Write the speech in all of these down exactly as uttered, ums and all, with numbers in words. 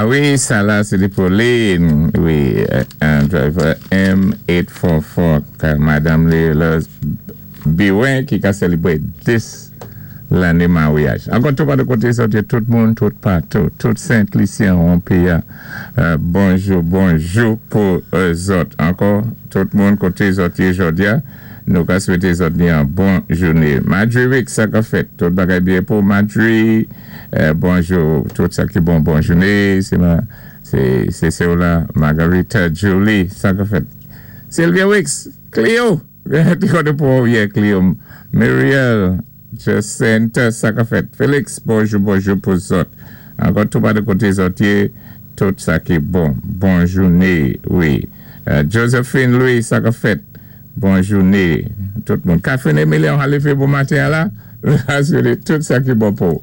Ah wi, sa la, sé pou Lynn. Wi, euh, driver M eight four four, Madanm Léla Biwen ki ka sélébwé dis lanné maryaj. Ankò tou pa de koté sòti tout moun, tout patou, tout Sent Lisyen an péyi. Euh, bonjou, bonjou pou zòt. Ankò, tout moun koté zòt yé jòdi-a, nou ka swété zòt ni an bon jouné. Madri Rick, sa ka fèt. Tout bagay byen pou Madri. Euh, bonjou, tout sa ki bon, bon jouné. Sé ma, sé, sé sé la, Margarita Julie, sa ka fèt. Sylvia Wicks, Cleo, pou yeah, Cleo. Muriel, Jacinta, sa ka fèt. Félix, bonjou, bonjou pou zòt. Ankò tou pa de koté zòt yé, tout sa ki bon. Bon jouné, wi. Euh, Josephine Louis, sa ka fèt. Bon jouné. Tout moun. Catherine Emilien, alé fè bon maten la. Tout sa ki bon pou.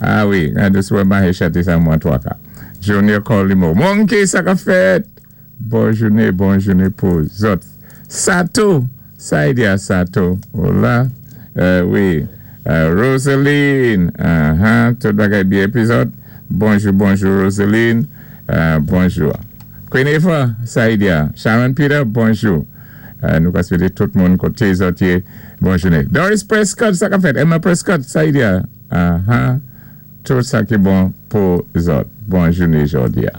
Ah wi, an dé maché chanté sa mwen twa ka. Junior Colimo. Monkey, sa ka fèt. Bon jouné, bon jouné pou zòt. Sato, Saidia Sato. Hola. Euh, wi. Euh, Rosaline. Uh-huh. Tout bagay byen pi zòt. Bonjou, bonjou Rosaline. Euh, bonjou. Queen Eva, Saidia. Sharon Peter, bonjou. Euh, nou ka swété tout moun koté zòt yé. Bon jouné. Doris Prescott, sa ka fèt. Emma Prescott, Saidia. Uh-huh. Tout sa ki bon pou zòt. Bon jouné jòdi-a.